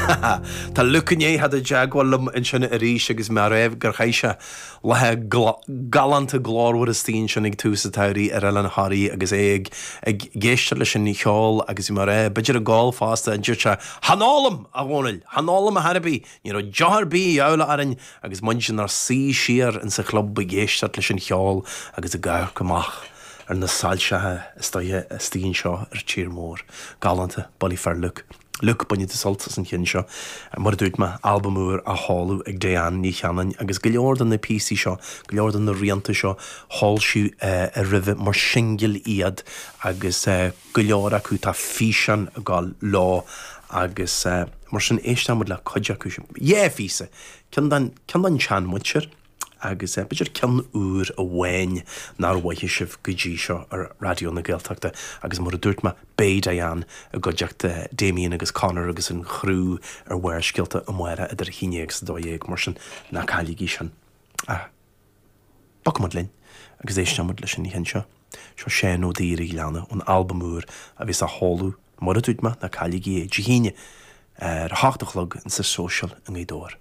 Tá Luke i ndiaidh theacht i dteagmháil liom ansin arís agus mé ag rá gur chaith sé lá galánta glórmhar istigh ansin ag tús an tsamhraidh ar Oileán Thoraí agus é ag ag éisteacht leis an cheol agus bhí mé ag rá b'fhéidir ag ól fosta a dúirt sé Chan ólaim, a Dhónaill, chan ólaim ar chor ar bith, ní raibh deoch ar bith a dhíobháil orainn agus muid inár suí siar insa chlub ag éisteacht leis an cheol agus ag amharc amach ar na soilseacha istigh anseo ar tír mór. Galánta, bullaí fear Luke. Luke, bainfidh tú sult as an cheann seo. Mar a dúirt mé, albam úr á sheoladh ag Diane Ní Chanainn agus go leor de na píosaí seo, go leor de na rianta seo, foilsíodh roimhe mar shingil iad agus go leor acu tá físeán ag gabháil leo agus mar sin éisteoidh muid le cuid acu sin. Dhá phíosa, ceann den, ceann den tseanmhuintir agus b'fhéidir ceann úr amháin nár mhothaigh sibh go dtí seo ar Raidió na Gaeltachta agus mar a dúirt mé, beidh Diane i gcuideachta Damien agus Conor agus an chriú ar Bharrscéalta amárach idir 11 agus 12, mar sin ná cailligí sin. Ach bogfaidh muid linn agus éisteoidh muid leis an cheann seo. Seo Seán Ó Duibhir an Ghleanna ón albam úr a bheas á sheoladh, mar a dúirt mé, ná cailligí é, Dé hAoine ar a hocht a chlog insa Social i nGaoth Dobhair.